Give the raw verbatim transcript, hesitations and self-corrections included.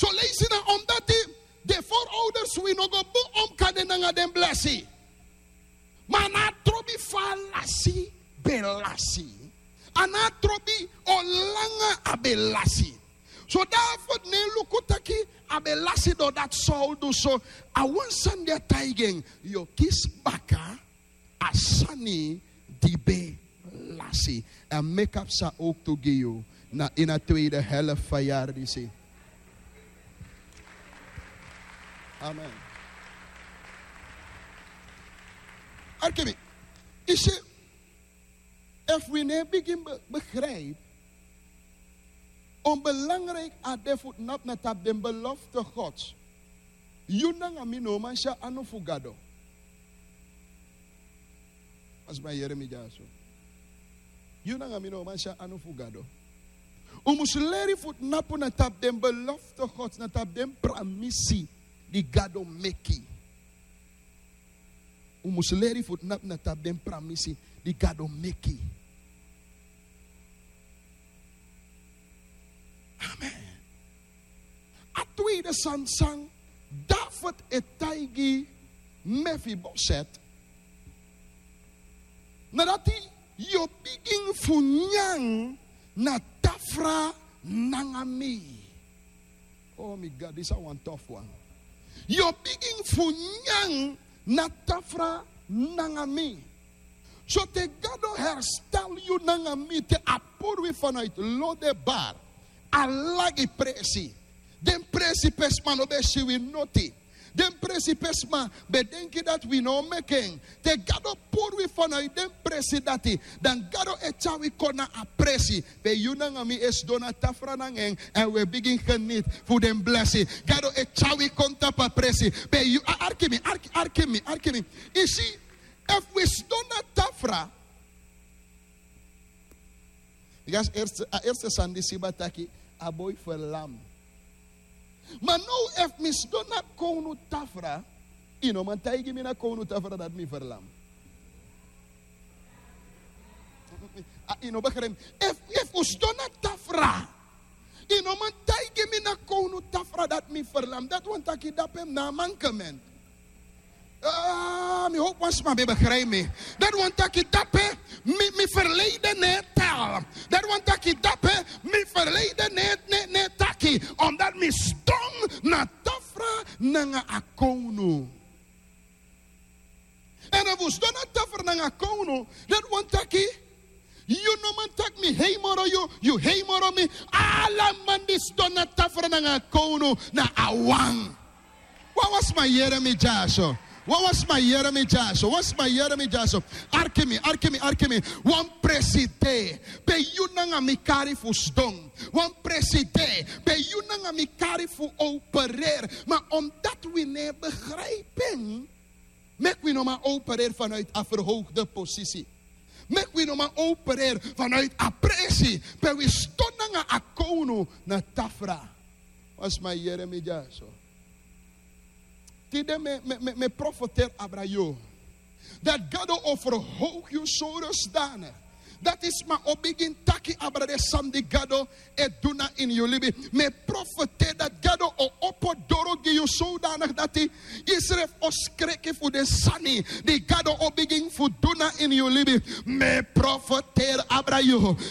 So leisi na omdati den forouders wi no go bun omkande nanga den blesi. Ma a no a trobi fa a lasi ben lasi. A no a trobi olanga a ben lasi. So david no e luku taki a ben lasi doro dati. Saul du so. A wan sani di a taigi en, yu o kisi baka a sani di ben lasi. A meki a psa owktu gi yu na ini a tweede helft fu a yari disi. Amen. Arki mi. Yu si, efu wi no e bigin begrijpi onbelangrijk a de fu tnapu na tapu den belofte gods. Yu nanga mi no o man si a anu fu gado. Wan sma yere mi dyaso. Yu nanga mi no o man si a anu fu gado. Un mus leri fu tnapu na tapu den belofte gods na tapu den pramisi di gado meki. Un mus leri fu tnapu na tapu den pramisi di gado meki. Amen. A tweede sani san david e taigi mefiboset, na dati yu o bigin fu nyan na tafra nanga mi. O mi gadi san wan tofu wan. Yu o bigin fu nyan na tafra nanga mi. So te gado herstel yu nanga mi te a puru wi vanuit lo de bar, a lagi presi. Den presi pe sma no ben si wi noti. Den presi pe sma ben denki dati wi no o meki en. Te gado puru wi vanuit den presi dati, dan gado e tyari wi kon na a presi pe yu nanga mi e sidon na tafra nanga en, èn wi e bigin geniti fu den blesi. Gado e tyari wi kon tapu a presi pe yu a arki mi, arki mi, arki mi. Yu si, efu wi sidon na tafra, bika a erste sani di siba taki a boi ferlam. Ma now efu mi sidon na kownu tafra, yu no man taigi mi na kownu tafra dati mi ferlam. Yu no begrijpi mi. Efu un sidon na tafra, yu no man taigi mi na kownu tafra dati mi ferlam. Dati wani taki dape mi na a mankement. Mi howpu wan sma ben begrijpi mi. Dati wani taki dape mi ferleiden no e tel. Dati wani taki dape mi ferleiden no e taki, omdati mi sidon na tafra nanga a kownu. Èn efu un sidon na tafra nanga a kownu, dati wani taki yu no man taki mi hei moro yu, yu hei moro mi. Ala man di sidon na tafra nanga a kownu na a wan. Wawan sma yere mi dyaso. Wawan sma yere mi dyaso. Wan sma yere mi dyaso. Arki mi, arki mi, arki mi. Wan presi de pe yu nanga mi kari fu sidon. Wan presi de pe yu nanga mi kari fu opereri. Ma omdati wi no e begrijpi en, meki wi no man opereri vanuit a verhoogde posisi. Meki wi no man opereri vanuit a presi pe wi sidon nanga a kownu na tafra. Wan sma yere mi dyaso. Tide mi e profeteri abra yu dati gado o verhoog yu so dusdanig dati sma o bigin taki abra den sani di gado e du na ini yu libi. Mi e profeteri dati gado o opo doro gi yu so dusdanig dati yusrefi o skreki fu den sani di gado o bigin fu du na ini yu libi. Mi e profeteri abra yu